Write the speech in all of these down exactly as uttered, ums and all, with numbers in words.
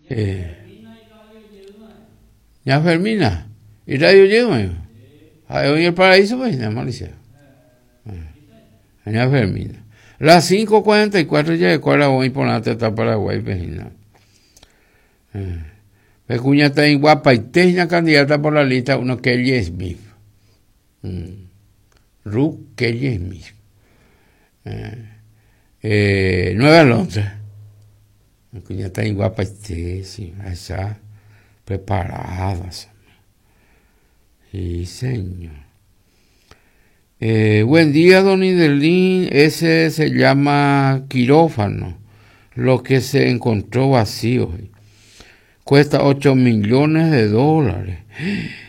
Eh. Ña Fermina, y radio llega, hoy el paraíso, pues, malicia. Ña Fermina. Las cinco cuarenta y cuatro ya de cuál voy por la teta Paraguay, pejina. Eh. Cuña está en guapa y teña candidata por la lista uno Kelly Smith. Mm. Ruth Kelly Smith. Eh. Eh, Nueva Londres. Cuña está en guapa y sí, esa preparada. Sí, señor. Eh, buen día, don Idelín. Ese se llama quirófano, lo que se encontró vacío. Cuesta ocho millones de dólares.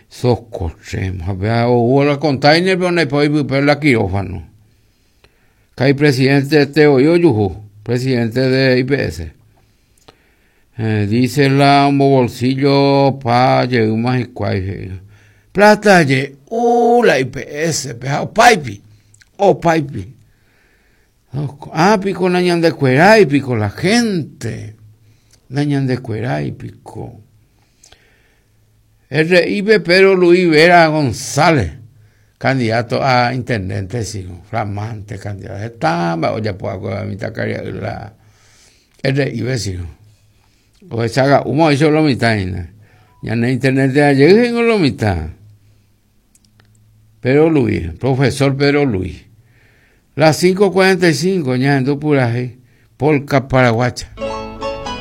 Socorremos. Hubo la container, pero no hay poder la quirófano. Que hay presidente Teo Yuju, presidente de I P S. Eh, dice la bolsillo pa más y cuay. Plata ye, uh, la I P S, o paipi, o paipi. Ah, pico nañan de cueray, pico la gente. Nañan de cueray, pico. R I P Pedro Luis Vera González, candidato a intendente, sí, flamante candidato. Está, oye, puedo mitad la R I P, sí. O esa humo hizo lo mitad, ya en internet de ayer en lo mitad. Pedro Luis, profesor Pedro Luis. Las cinco cuarenta y cinco, ya en Puraje, Polka Paraguacha.